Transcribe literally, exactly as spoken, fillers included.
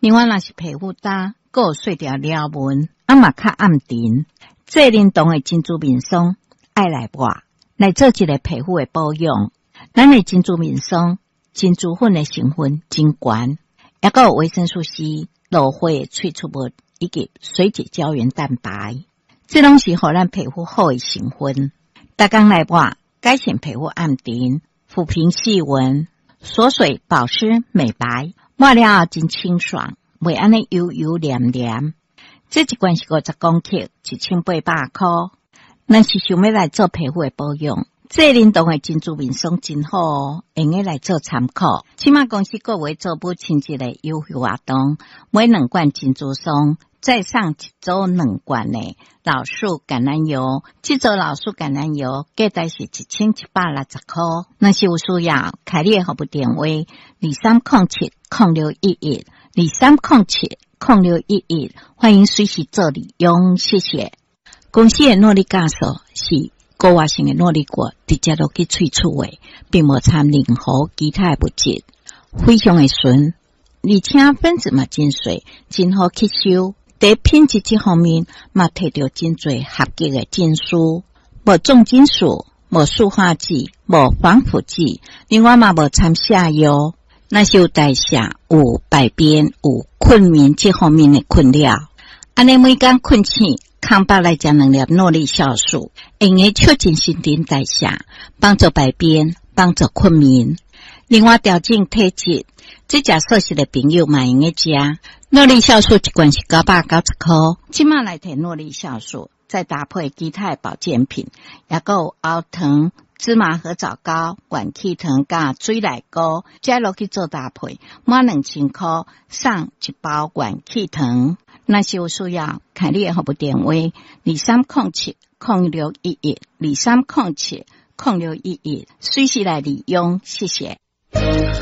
另外，若是皮膚焦，閣有細條條紋，啊嘛較暗沉。濟靈堂的珍珠面霜愛來抹，來做一个皮膚的保養。咱的珍珠面霜，珍珠粉的成分真懸，抑閣有維生素 C、蘆花的萃取物以及水解膠原蛋白，這攏是予咱皮膚好的成分。逐工來抹，改善皮膚暗沉、撫平細紋、鎖水、保濕、美白，抹了後真清爽，袂按呢油油黏黏。這一罐是五十公克，一千八百箍。若是想欲來做皮膚的保養，濟靈堂的珍珠面霜真好哦，會用來做參考。這馬公司閣有做母親節的優惠活動，買兩罐珍珠霜，再送一組兩罐的老樹橄欖油。這組老樹橄欖油價值是一千一百六十箍。若是有需要，開你的服務電話：二三空七空六一一，二三空七空六一一，歡迎隨時做利用，謝謝。公司的諾麗酵素是高活性的諾麗果直接落去萃取的，並無摻任何其他的物質，非常的純，而且分子嘛真細，真好吸收。佇品質這方面嘛，提著真濟合格的證書，無重金屬，無塑化劑，無防腐劑，另外嘛無摻瀉藥。若是有代謝、有排便、有睏眠這方面的困擾，按呢每工睏醒，空腹來食兩粒諾麗酵素，會用促進新陳代謝，幫助排便，幫助睏眠。另外調整體質，這食素食的朋友嘛會用食。諾麗酵素一罐是九百九十箍，這馬來提諾麗酵素，再搭配其他的保健品，抑閣有喉糖、芝麻褐藻膏、元氣糖佮水內膏，這落去做搭配，滿兩千箍送一包元氣糖。若是有需要，開你的服務電話：二三空七空六一一，二三空七空六一一，隨時來利用，謝謝。